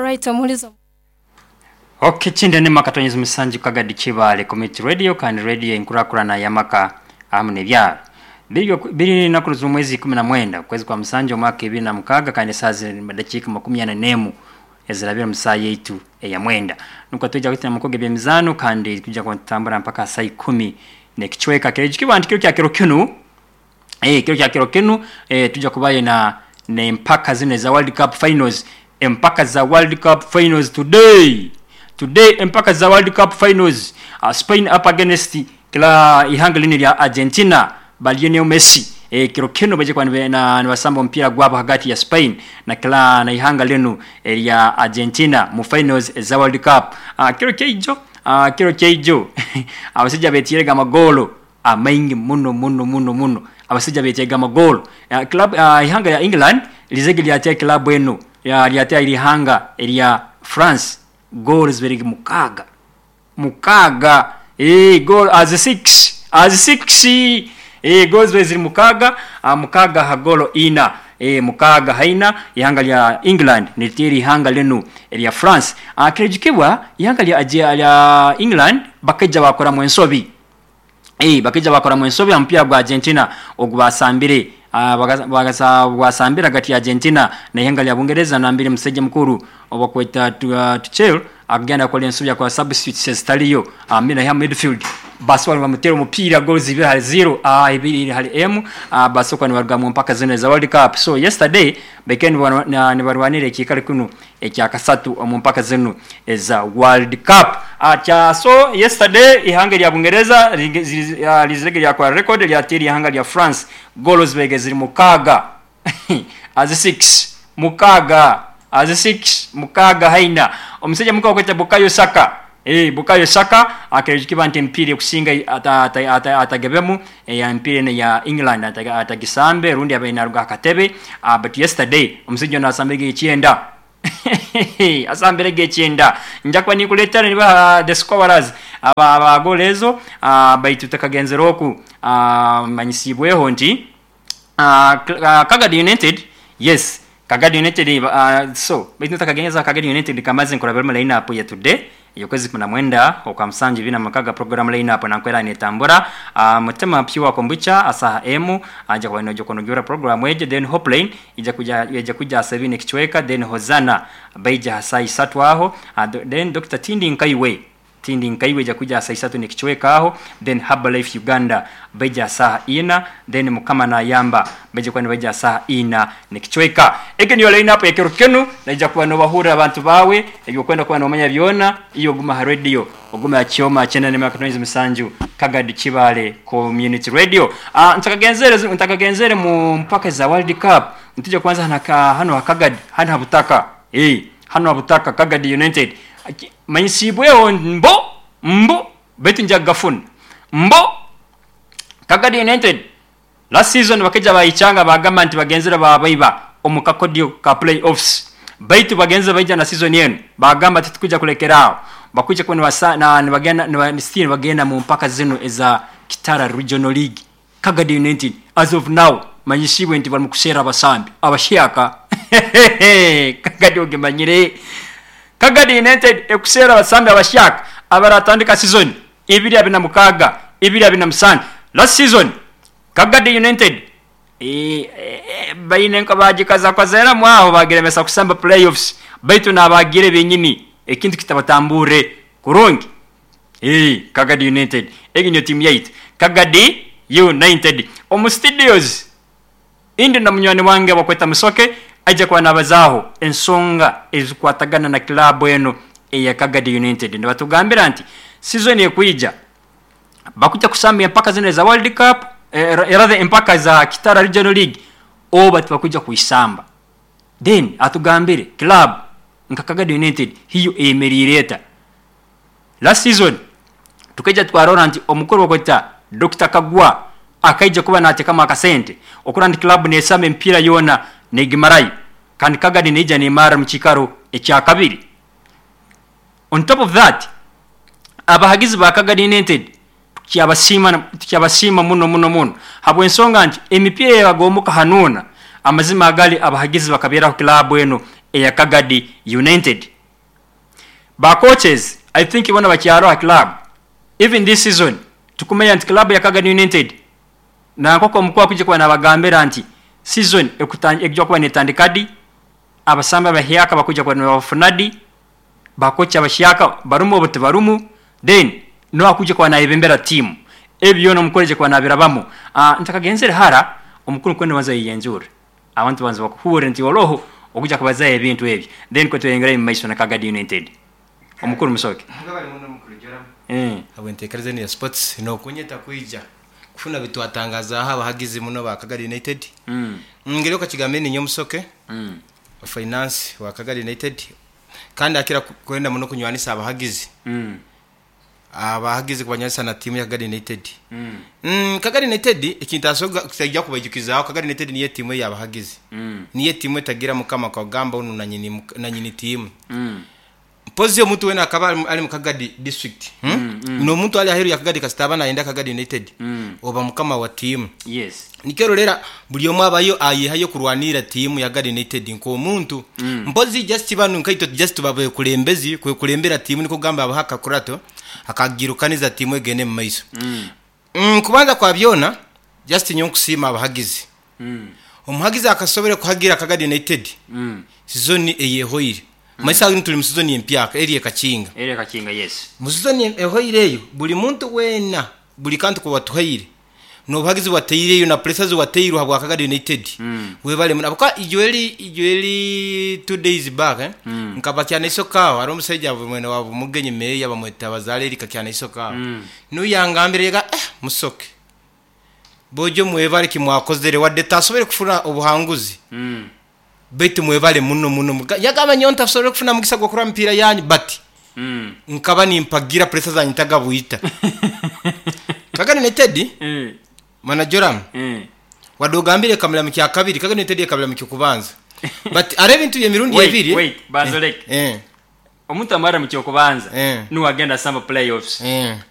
Alright, omuhulizi. Ok, kindi ni maka tonyezi musanju Kagadi Kibaale Community Radio kandi radio enkurakurana y'amaka ahamu n'ebyaro. Biri biri naku z'omwezi 19 okwezi kwa musanju omwaka 2006 kandi esaaha ziri dakiika 41 ezirabire omu saaha yaitu eya mwenda. Nukwo twija kuhika omu mukogo eby'emizaano kandi twija kuba nitutambura mpaka saa ikumi n'ekicweka. Kiba nti kiro kya kiro kinu, kiro kya kiro kinu twija kubayo na n'empaka zinu eza World Cup Finals, empaka za World Cup Finals today. Today empaka za World Cup Finals, Spain up against kila ihanga linu lya Argentina ba Lionel Messi. Kiro kinu baija kuba nibasamba omupiira gwabo hagati ya Spain na kila na ihanga linu erya Argentina mu finals eza World Cup. Kiro kyaijo, kiro kyaijo abasaija betiirege amagoolo amaingi muno muno muno muno. Abasaija betiirege amagoolo. Club ihanga lya England lizege lyateera club enu lyateera ihanga erya France goolo zibaire mukaaga. Mukaaga. Goal as six. As six. Goal zibaire ziri mukaaga, mukaaga ha goolo ina. Mukaaga ha ina ihanga lya England niriteera ihanga linu erya France. Kirijukibwa ihanga lya England bakaija baakoramu ensobi. Bakaija baakoramu ensobi ha mupiira gwa Argentina ogu baasambire. Gwasambire hagati ya Argentina n'ihanga lya Bungereza nambere omusaija mukuru obakweta Tuchel akagenda akora ensobi yakora substitutes ezitaliyo naiha midfield basobola nibamuteera omupiira goals ibiri hali zero, ibiri hali emu, basobola nibaruga mu mpaka zinu eza World Cup. So yesterday bakaire nibarwanira ekiikaro kinu ekyakasatu omu mpaka zinu eza World Cup. So yesterday ihanga erya Bungereza lizirege lyakora record lyateera ihanga lya France goals zibaire ziri mukaaga as six, mukaaga as six, mukaaga haina. Omusaija mukuru bakweta Bukayo Saka. Bukayo Saka akiba nti emipiira ekusinga atagebemu emipiira enu eya England atagisambe rundi abaire naruga aha katebe, but yesterday omusaija onu asambirege ekyenda. Asambirege ekyenda. Nja kuba ninkuleetera nibaha the scorers aba goolo ezo, baitu tutakagenzere oku, manyisibweho nti Kagadi United, yes, Kagadi United, so baitu ntakagenza Kagadi United kamaze nkurabiremu line up ya today ey'okwezi 19 okwa musanju 2006 program line up nankwera netambura. Mutima Pure Kombucha asaha emu aja kuba noja kunogera program egyo, then Hopeline ija kuja ija kuja saa ibiri n'ekicweka, then Hosanna baija ha saa isatu aho, then Dr. Tindi Nkaiwe Tindi Nkaiwe ija kuja saa isatu n'ekicweka aho, then Herbalife Uganda baija saa ina, then Mukama Nayamba baija kuba nibaija saa ina n'ekicweka. Egi niyo line up ekiro kinu, naija kuba nobahurra abantu bawe ebyokwenda kuba nomanya byona, iyo oguma ha radio, oguma ha kyoma 97 Kagadi Kibaale Community Radio. Ntakagenzere mu mpaka za World Cup, ntija kwanza hano ha Kagadi, hano ha butaka. Hano ha butaka Kagadi United. Manyisibweho mbo mbo baitu nja kugafuna. Mbo Kagadi United last season bakaija bayichanga bagamba nti bagenzere babaiba omu kakodyo ka playoffs. Baitu bagenze baija na season enu bagamba titukuja kulekeraaho. Bakuja kuba nibagenda still nibagenda mu mpaka zinu eza Kitara Regional League. Kagadi United as of now manyisibwe nti bali mukuseera abasambi abashyaka. Kagadi ogimanyire. Kagadi United ekuseera abasambi abashyaka abaratandika season 2026 2027. Last season Kagadi United baine nka bagikazakozeramu aho bagiremesa kusamba playoffs, baitu nabagire benyini ekintu kitabatambure kurungi. Kagadi United egi niyo tiimu yaitu Kagadi United. Omu studios indi na munywani wange bakweta Musoke aija kuba nabazaaho ensonga ezikwatagana na club eno eya Kagadi United. Nibatugambira nti season ekwija bakuja kusamba empaka zino eza World Cup, rather empaka za Kitara Regional League oba tibakuja kuisamba. Then atugambire club nka Kagadi United hiyo eyemeriire eta. Last season tukaija twarora nti omukuru bakweta Dr. Kagwa akaija kuba natekamu akasente okura nti club nesamba emipiira yoona negimarayo kandi Kagadi neija nemara mu kiikaro ekya kabiri. On top of that, abahagizi ba Kagadi United tukyabasiima muno muno muno habw'ensonga nti emipiira eyagomuka hanuuna amazima agali abahagizi bakabeeraho club eno eya Kagadi United. Ba coaches I think boona bakyaroho ha club. Even this season tukumanya nti club ya Kagadi United na nkoku omukuru akwija kuba nabagambira nti season ekuija kuba netandika di, abasambi abahyaka bakwija kuba nibabafuna di, ba coach abahyaka barumu oba tibarumu, then noha akwija kuba nayebembera team. Ebi byona omukuru aija kuba nabirabamu. Ntakagenzere hara, omukuru nkwenda obanze oyeyanjure, abantu babanze bakuhuure nti oroho okuija kubazaho ebintu ebi, then nikwo tweyongerayo mumaiso na Kagadi United. Omukuru Musoke. Mwebale muno mukuru Joram habw'enteekereza enu ya sports n'okunyeta kwija kufuna bitwatangazaaho abahagizi muno ba Kagadi United. Ngeri okakigambire, ninyowe Musoke finance wa Kagadi United, kandi akira kwenda muno kunywanisa abahagizi, abahagizi kubanywanisa na tiimu ya Kagadi United. Kagadi United ekintu asobola kutaija kubaijukizaaho, Kagadi United niyo tiimu ey'abahagizi, niyo tiimu etagira mukama kagamba onu nanyini tiimu. Mpozi omuntu weena akaba ali mu Kagadi district, n'omuntu ali aheeru ya Kagadi, kasita aba nayenda Kagadi United, oba mukama wa tiimu. Nikyo ororera buli omu abayo ayehayo kurwanirra tiimu ya Kagadi United nk'omuntu. Mpozi just banu nkaitwe just tuba bekulembezi kwekulembera tiimu, nikwo kugamba abaho akakurato akagirukaniza tiimu egende mu maiso. Kubanza kwa byona, just nyowe nkusiima abahagizi. Omuhagizi akasobora kuhagira Kagadi United sizoni eyehoire. Maiso ago tuli mu sizoni empyaka eri ekakinga. Eri ekakinga, yes. Mu sizoni ehoire eyo, buli muntu weena, buli kantu kuwatuhaire n'obuhagizi bwataireyo na puresa ziwatairwe habwa Kagadi United, webale muno. Habwokuba ijo eri 2 days back nkaba Kyanaisoka aho, hariho omusaija mwene wa Mugenyi meeya bamweta Bazaale Erika Kyanaisoka aho. Nuwe yangambire yaga, Musoke, bojo mwebale kimwakozere, wadde tasobole kufuna obuhanguzi, baitu mwebale muno muno. Yagamba nyowe ntasobole kufuna mugisa gw'okurora mipiira yanyu, but nkaba nimpagira, puresa zanyu ntagabwita. Kagadi United, mana Joram, wadde ogambire ekamira mu kyakabiri, Kagadi United ekamira mu kyokubanza, but hariho ebintu by'emirundi Wait, ebiri. Wait, banza oleke. Omuntu amara mu kyokubanza, nuwe agenda asamba playoffs.